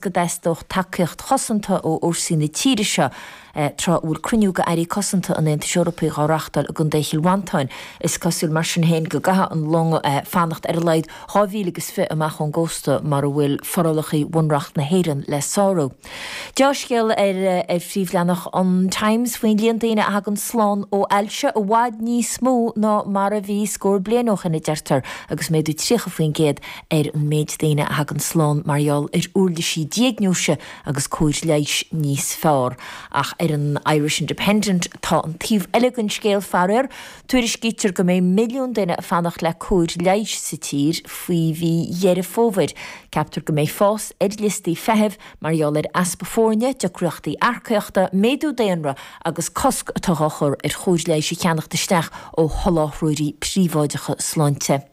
Go dteastódh tacaíocht chosanta ó fhórsaí na tíre seo tráth a bhfuil cruinniú de airí cosanta an Aontais Eorpaigh á reáchtáil i gContae Chill Mhantáin. Is cosúil mar sin féin go gcaithfidh an long fanacht ar a laghad 2020 amach ón gcósta mar a bhfuil forálacha Bhunreacht na hÉireann le sárú. Deá-scéal ar phríomhleathanach an Times faoin líon daoine a thagann slán ó ailse, i bhfad níos mó ná mar a bhí scór bliain ó shin, a deirtear, agus méadú 30% ar an méid daoine a thagann slán mar gheall ar uirlisí diagnóise agus cóir leighis níos fearr. Ach ar an Irish Independent tá an taobh eile den scéal, faraor. Tuairiscítear go mbeidh milliún duine ag fanacht le cóir leighis sa tír faoi mhí Dheireadh Fómhair. Ceaptar go mbeidh fás ar liostaí feithimh mar gheall ar easpa foirne, deacrachtaí earcaíochta, méadú daonra agus cosc atá á chur ar chóir leighis a cheannacht isteach ó sholáthróirí príobháideacha sláinte.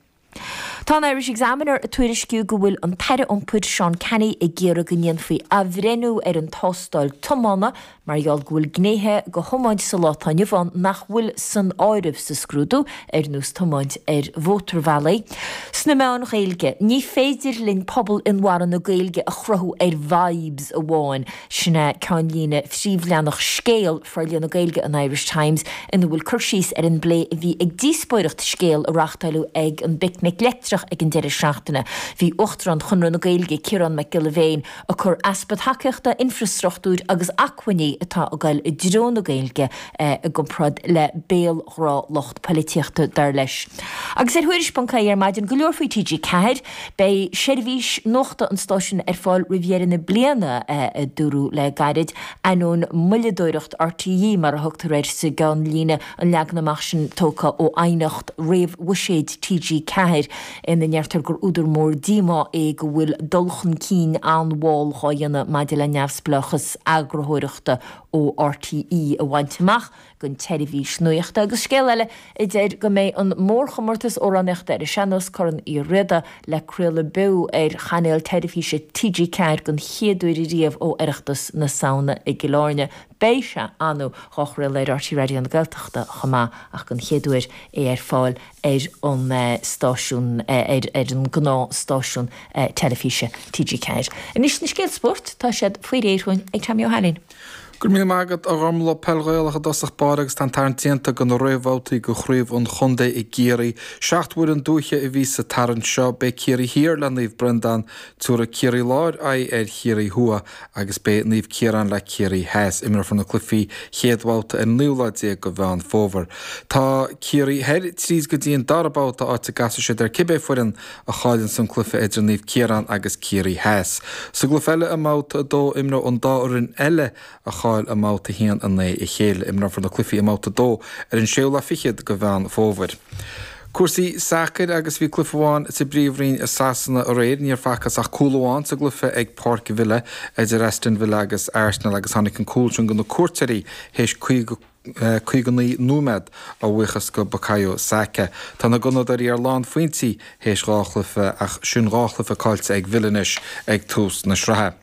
Tá an Irish Examiner ag tuairisciú go bhfuil an tAire Iompair Seán Canney ag iarraidh go ndéanfaí athbhreithniú ar an tástáil tiomána mar gheall go bhfuil gnéithe de thiomáint sa lá atá inniu ann nach bhfuil san áireamh sa scrúdú, ar nós tiomáint ar mhótarbhealaí. Sna meáin Ghaeilge, ní féidir linn pobal inmharthana Gaeilge a chruthú ar vibes amháin, sin é ceannlíne phríomhleathanach Scéal. Forlíonadh Gaeilge an Irish Times ina bhfuil cur síos ar an bplé a bhí ag díospóireacht Scéal a reáchtáileadh ag an bPicnic Leictreach ag an deireadh seachtaine. Bhí Uachtarán Chonradh na Gaeilge, Ciarán Mac Giolla Bhéin, ag cur easpa tacaíochta, infreastruchtúir agus acmhainní atá ag goil i dtreo na Gaeilge i gcomparáid le béalghrá lucht poilitíochta, dar leis. Agus ar Thuairisc.ie ar maidin, go leor faoi TG4. Beidh seirbhís nuachta an stáisiúin ar fáil roimh dheireadh na bliana, a dúradh le gairid. Ainneoin moilleadóireacht RTÉ, mar a thugtar air sa gceannlíne, an leagan amach sin tógtha ó aighneacht réamh-bhuiséid TG4 ina ndeirtear gur údar mór díomá é go bhfuil dul chun cinn an-mhall dhá dhéanamh maidir le neamhspleáchas eagarthóireachta ó RTÉ a bhaint amach don tseirbhís nuachta. Agus scéal eile a deir go mbeidh an mórchomórtas amhránaíochta ar an sean-nós, Corn Uí Riada, le craoladh beo ar chainéal teilifíse TG4 den chéad uair riamh ó Oireachtas na Samhna i gCill Airne. Beidh sé, ar ndóigh, dhá chraoladh ar RTÉ Raidió na Gaeltachta chomh maith ach den chéad uair é ar fáil ar an stáisiún, ar an ngnáth-stáisiún teilifíse TG4. Anois na scéalta spóirt, tá siad faoi réir chugainn ag Tommy Ó hAilín. Go raibh míle maith agat, a Ghormlaith. Peil Ghaelach i dtosach báire agus tá an tarraingt déanta do na réamhbhabhtaí do Chraobh an Chontae i gCiarraí. 7 bhfoireann dúiche a bhí sa tarraingt seo. Beidh Ciarraí Thiar le Naomh Breandán, tabharfaidh Ciarraí Láir aghaidh ar Chiarraí Thuaidh agus beidh Naomh Ciarán le Ciarraí Theas. Imreofar na cluichí chéad bhabhta ar an naoú lá déag de Mheán Fómhair. Tá Ciarraí Thoir tríd go dtí an dara babhta áit a gcasfaidh siad ar cibé foireann a chailleann san cluiche idir Naomh Ciarán agus Ciarraí Theas. Sa gcluiche eile i mBabhta 2, imreoidh an dá fhoireann eile a chaill i mBabhta 1 in aghaidh a chéile. Imreofar na cluichí i mBabhta 2 ar an séú lá fichead de Mheán Fómhair. Cúrsaí sacair agus bhí cluiche amháin sa bPríomhroinn i Sasana aréir. Níor facthas ach cúl amháin sa gcluiche ag Páirc Villa idir Aston Villa agus Arsenal agus tháinig an cúl sin do na cuairteoirí théis 50 59 nóiméad, a bhuíochas go Bukayo Saka. Tá na Gunnadóirí ar lánphointí théis dhá chluiche ach sin dhá chluiche caillte ag Villa anois ag tús na sraithe.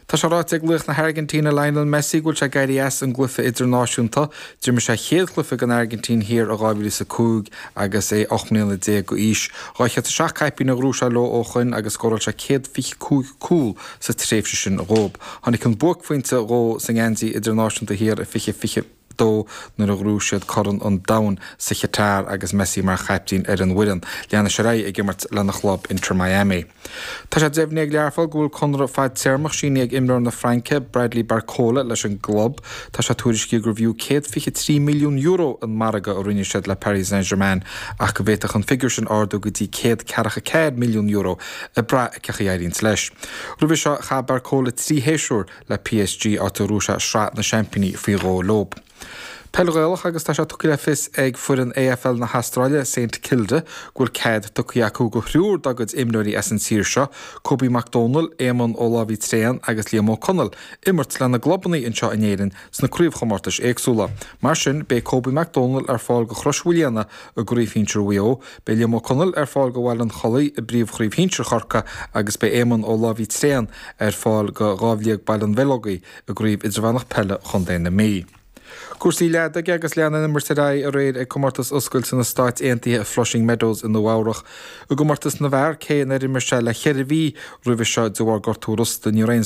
Tá sé ráite ag laoch na hAirgintíne Lionel Messi go bhfuil sé ag éirí as an gcluiche idirnáisiúnta. D'imir sé a chéad chluiche don Airgintín thiar i 2005 agus é 18 mbliana d'aois. 207 caipín a ghnóthaigh sé leo ó shoin agus scóráil sé 125 cúl sa tréimhse sin dhób. Tháinig an buaicphointe dhó sa ngeansaí idirnáisiúnta thiar i 2022 nuair a ghnóthaigh siad Corn an Domhain sa Chatar agus Messi mar chaiptín ar an bhfoireann. Leanfaidh sé ar aghaidh ag imirt lena chlub Inter Miami. Tá sé deimhnithe ag Learpholl go bhfuil conradh fadtéarmach sínithe ag imreoir na Fraince, Bradley Barcola, leis an gclub. Tá sé tuairiscithe gurbh fhiú €123 milliún an margadh a rinne siad le Paris Saint-Germain ach go bhféadfadh an figiúr sin ardú go dtí €144 milliún ag brath ar cén chaoi a éiríonns leis. Roimhe seo, chaith Barcola 3 shéasúr le PSG, áit a ghnóthaigh sé Sraith na Seaimpíní faoi dhó leo. Peil Ghaelach agus tá sé tugtha le fios ag foireann AFL na hAstráile, St Kilda, go bhfuil cead tugtha acu do thriúr dá gcuid imreoirí as an tír seo, Kobe Mac Dónaill, Éamonn Ó Láimhí Tréan agus Liam Ó Conaill, imirt lena gclubanna anseo in Éirinn sna craobhchomórtais éagsúla. Mar sin, beidh Kobe Mac Dónaill ar fáil do Chrois Mhaoilíona i gCraobh Shinsir Mhaigh Eo, Beidh Liam Ó Conaill ar fáil do Bhaile an Chollaigh i bPríomhchraobh Shinsir Chorcaí agus beidh Éamonn Ó Láimhí Tréan ar fáil do Dhámh Liag Baile an Bheileogaigh i gCraobh Idirmheánach Peile Chontae na Mí. Cúrsaí leadóige agus lean an imirt ar aghaidh aréir ag Comórtas Oscailte na Stáit Aontaithe i Flushing Meadows i Nua Eabhrach. I gcomórtas na bhfear, cé nár imir sé le cheithre mhí roimhe seo de bharr gortú rosta, ní raibh aon.